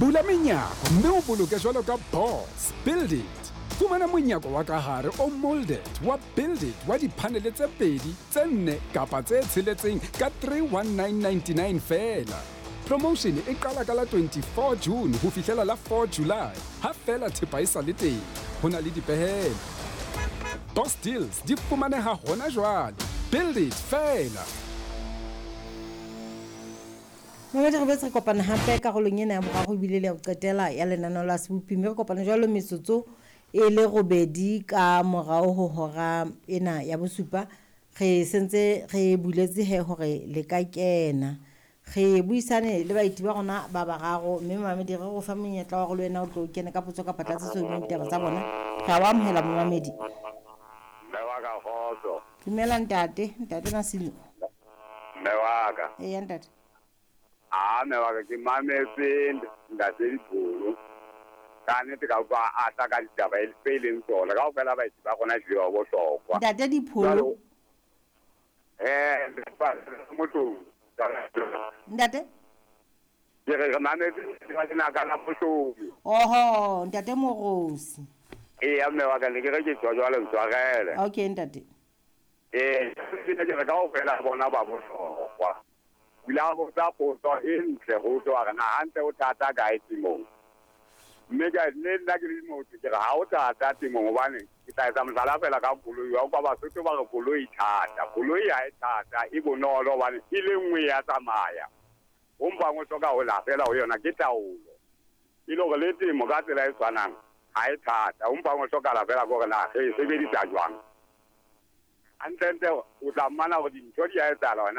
Bula menyako mme o boloke jwalo ka boss. Build it. Fumana monyako wa ka hare o molded wa Build it wa diphanele tse pedi, tse nne kapa tse tsheletseng ka 31999 feela. Promotion e qala ka la 24 June ho fihlela la 4 July, ha feela thepa e sa le teng. Ho na le dipehelo. Boss deals di fumaneha hona jwale. Build it feela. Mamedi, re boetse re kopana hape karolong ena ya boraro ebile le ya ho qetela ya lenaneo la Sebopi, mme re kopana jwalo metsotso e le robedi ka morao ho hora ena ya bosupa. Re sentse re buletse he hore le ka kena re buisane le baeti ba rona ba bararo, mme mamedi re go fa monyetla wa gore le wena o tlo kene ka potso kapa tlatsetso hodima ditaba tsa bona. Re a o amohela, momamedi. Mme wa ka, kgotso. Dumela ntate, ntate Masilo. Mme wa ka. Eya ntate. A mme wa ka, ke mametse ntate Dipholo. Ka nnete ka utlwa a tla ka ditaba e tse leng tsona. Kaofela baeti ba rona ehlile ba bohlokwa. Ntate Dipholo. Motho. Ntate. Ke re re mametse lenaka la Mohlomi. Oho, ntate Morosi. Eya mme wa ka, ne ke re ke tswa jwale, ntshwarele. Okay ntate. Ee, ke re kaofela bona ba bohlokwa. O ile a botsa potso e ntle ho tswa hore na hantle o thata kae temong. Mme ka le nna ke le motho ke re ha o thata temong, hobane ke tla etsa mohlala fela ka koloi. Wa utlwa Basotho ba re koloi thata. Koloi ha e thata, e bonolo hobane e le nngwe ya tsamaya. Ho mpang o hloka ho la fela ho yona ke taolo. E le hore le temo ka tsela e tshwanang ha e thata. Ho mpang o hlokahala fela ke hore na re e sebedisa jwang. Hantlentle o tla mmana hore dintho di a etsahala hona.